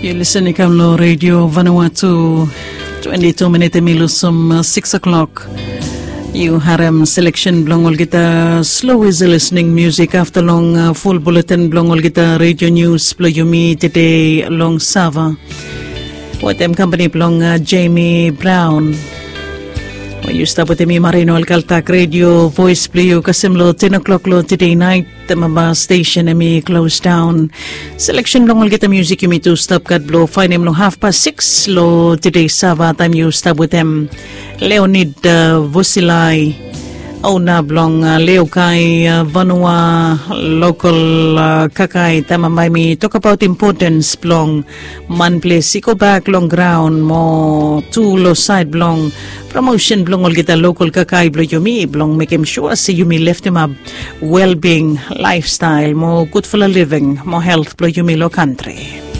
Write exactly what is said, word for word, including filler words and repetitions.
Yu lisen i kam long redio Vanuatu. Twenti tu minit em i lusim sikis o'klok. Yu harem seleksen blong olgeta slo isi lisning musik afta long ful buletin blong olgeta redio nius blong yumi tede long Sava. Wetem kampani blong Jemi Braun. Yu stap wetem mi Marino Alkaltak, redio voes blong yu kasem long ten o'klok long tede nait. Temaba stesen em i klos daon. Seleksen blong olgeta musik yumi tu stap gat blong faenem long hafpas sikis long tede Sava taem yu stap wetem Leonid Vosilai, ona blong Leokai Vanua lokol kakai. Temaba em i tokbaot impotens blong manples i gobak long graon mo tu long saed blong promosen blong olgeta lokol kakai blong yumi blong mekem sua se yumi leftemap welbing, laefstael mo gudfala living mo helt blong yumi long kantri.